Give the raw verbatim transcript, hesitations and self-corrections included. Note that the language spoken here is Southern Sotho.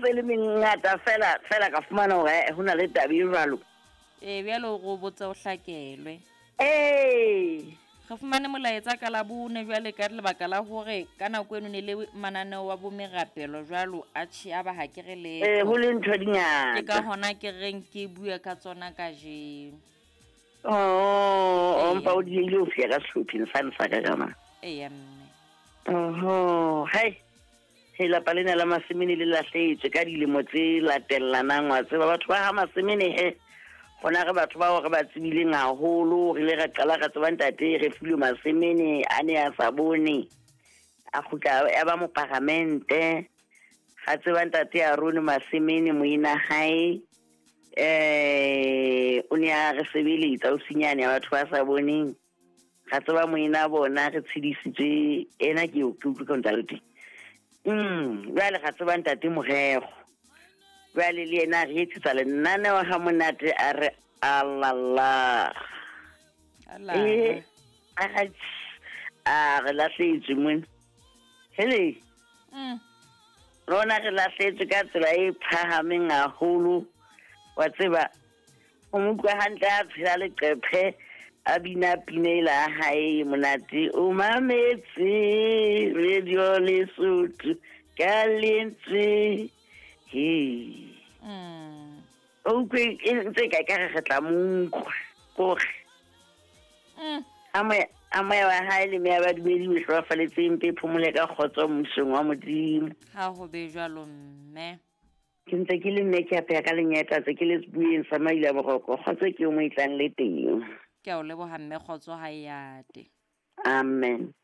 ntse le mengata fela fela ka fumana hore eh, ho na le taba e jwalo. Ee, bjalo go botsa o hlakelwe. Ee. Re fumane molaetsa ka Labone jwale ka lebaka la hore ka nako eno ne le mananeo wa bo merapelo jwalo atjhe a ba ha ke re letho. Ee, ho le ntho di Ke ka ngata. hona ke reng ke bue ka tsona kajeno. Oh, o Eya. mpa o diehile ho fihla ka sehlopheng sane sa ka ka mane. Eya mme. Oho, hai. He lapa lena la Masemene le lahlehetswe ka dilemo tse latellanang wa tseba batho ba ha Masemene he. Hona re batho bao re ba tsebileng haholo, re ile ra qala ra tseba ntate re filwe Masemene a ne a sa bone. A kgutla ya ba moparamente. Ga tseba ntate Aaron Masemene moina hae. Eh, o ne a re sebeletsa o sinyane ya batho ba sa boneng. Ga tseba moina bona re tshedisitswe ena ke ke utlwe ka ntate. Mm, jwale ga tseba ntate Morero. Jwale le yena a re etsetsa lenaneo ha monate a re alala. Alala. Eh, a a re lahlehetswe mona. Hele. Mm. Rona re lahlehetswe ka tsela e phahameng haholo. Wa tseba, o mo utlwa hantle a tshela leqephe, a bina pina ela ya hae e monate. O mametse radio Lesotho ka lentswe. He. Mm. O utlwe e ntse ka ekare re tla mo utlwa. Kore. Mm. A moya, a moya wa hae le meya ba badumedi o hlokofaletseng mpe phomole ka kgotso mmusong wa Modimo. Ha ho be jwalo mme. Ke ntse ke le mme ke apeha ka lenyeta tse ke le sebueng sa Maila Boroko. Kgotso ke o mo e tlang le teng. Ke a o leboha mme, kgotso ha e ate. Amen.